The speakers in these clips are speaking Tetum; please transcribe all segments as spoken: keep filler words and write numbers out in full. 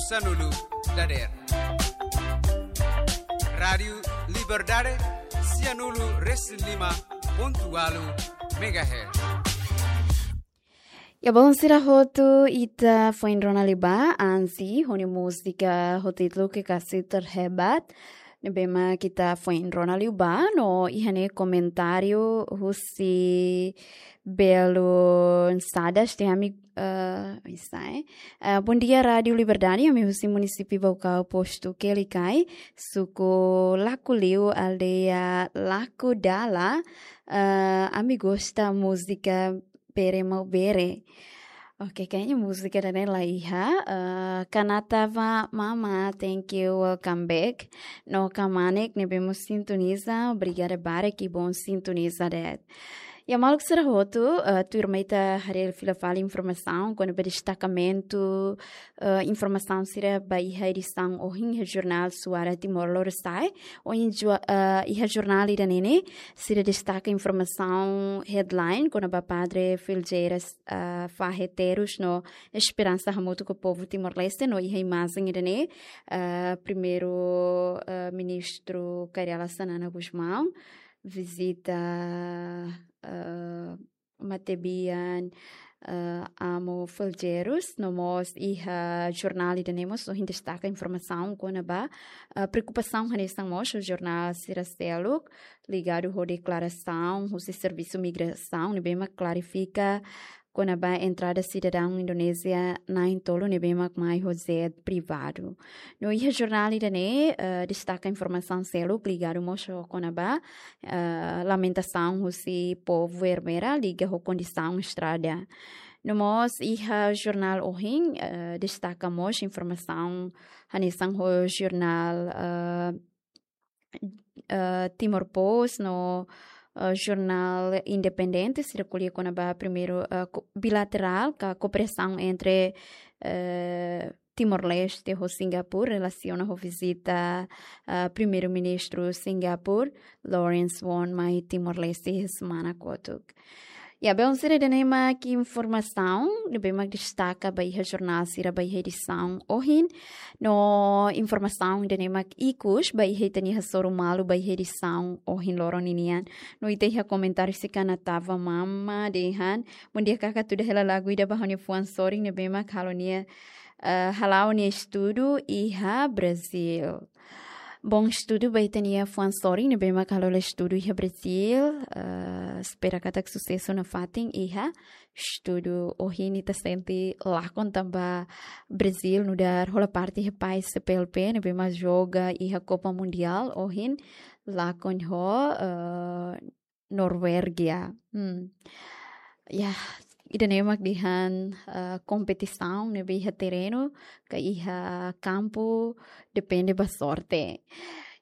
Sanulu dader. Rádiu Liberdade, sianulu resin lima pontu walu megahertz. Ya, bom, sira hotu, ita foin rona liu ba Anzi ho nia múzika ho títulu Kekasih Terhebat. Ne'ebé mak ita foin rona liu ba, no iha ne'e komentáriu husi Belo Sadas, te ami, eh, isai. Eh, bom dia, Rádiu Liberdade, ami husi munisípiu Baucau, postu Quelicai, suku Lakuliu, aldeia Lakudala. Eh, ami gosta múzika Bere Mau Bere. Oke, kayaknya múzika ida-ne'e la iha. Eh, Kanata Mama, thank you, welcome back. No Kamanek ne'ebé mós sintoniza, obrigada barak, que bom sintoniza de'it. Ya, maluk sira hotu, eh, tuirmai ita haree fila fali informasaun kona-ba destakamentu, eh, informasaun sira ba iha edisaun ohin iha jornál Suara Timor Lorosa'e. Ohin jua-, eh, iha jornál ida-ne'e ne'e, sira destaka informasaun headline kona-ba Padre Felgueiras, eh, fahe terus no esperansa hamutuk ho povu Timor-Leste, no iha imajen ida-ne'e, eh, Primeiru, eh, Ministru Kay Rala Xanana Gusmão vizita, eh, matebian, eh, Amu Felgueiras, no mós iha jornál ida-ne'e mós ohin destaka informasaun kona-ba, eh, preokupasaun hanesan mós ho jornál sira seluk ligadu ho deklarasaun husi Servisu Migrasaun ne'ebé mak klarifika kona-ba entrada sidadaun Indonézia na'in-tolu ne'ebé mak mai ho jet privadu. No iha jornál ida-ne'e, eh, destaka informasaun seluk ligadu mós ho kona-ba, eh, lamentasaun husi povu Ermera liga ho kondisaun estrada. No mós iha jornál ohin, eh, destaka mós informasaun hanesan ho jornál, eh, eh, Timor Post no, eh, jornál independente sira ko'alia kona-ba primeiru, eh, ko-, bilaterál ka kooperasaun entre, eh, Timor-Leste ho Singapura relasiona ho vizita, eh, Primeiru-Ministru Singapura, Lawrence Wong, mai Timor-Leste iha semana kotuk. Ya, bom, sira, ida-ne'e mak informasaun ne'ebé mak destaka ba iha jornál sira ba iha edisaun ohin. No informasaun ida-ne'e mak ikus ba iha ita-nia hasoru malu ba iha edisaun ohin loron ninian. No ita iha komentáriu husi Kanata Mama dehan: Bom dia, kaka, tuda hela lagu ida ba ha'u-nia fuan sorin ne'ebé mak halo nia, eh, hala'o nia estudu iha Brazil. Bom estudu ba ita-nia fuan sorin ne'ebé mak halo nia estudu iha Brazil. Eh, espera katak susesu nafatin iha estudu. Ohin ita sente lakon tanba Brazil nu'udar hola parte iha país C P L P ne'ebé mak joga iha Copa Mundial ohin lakon ho, eh, Norvégia. Hmm. Ya, ida-ne'e mak dehan, eh, kompetisaun ne'ebé iha terrenu ka iha kampu, depende ba sorte.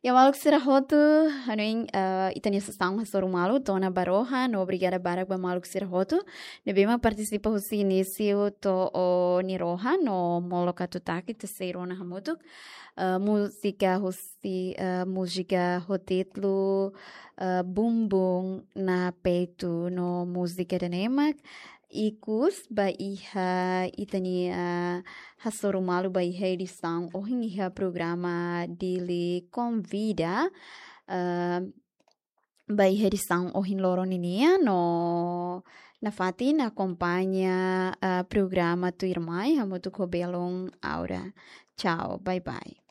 Ya, maluk sira hotu, hanoin, eh, ita-nia sasán hasoru malu to'o ona ba rohan, no obrigada barak ba maluk sira hotu ne'ebé mak partisipa husi inísiu to'o nia rohan, no molok atu taka ita sei rona hamutuk, eh, múzika husi, eh, múzika ho títulu, eh, Bumbum na Peito, no múzika ida-ne'e mak ikus ba iha ita-nia, eh, hasoru malu ba iha edisaun ohin iha programa Dili Konvida, eh, ba iha edisaun ohin loron ninian, no nafatin akompaña, eh, programa tuirmai hamutuk ho belun Aura. Tchau, bye bye.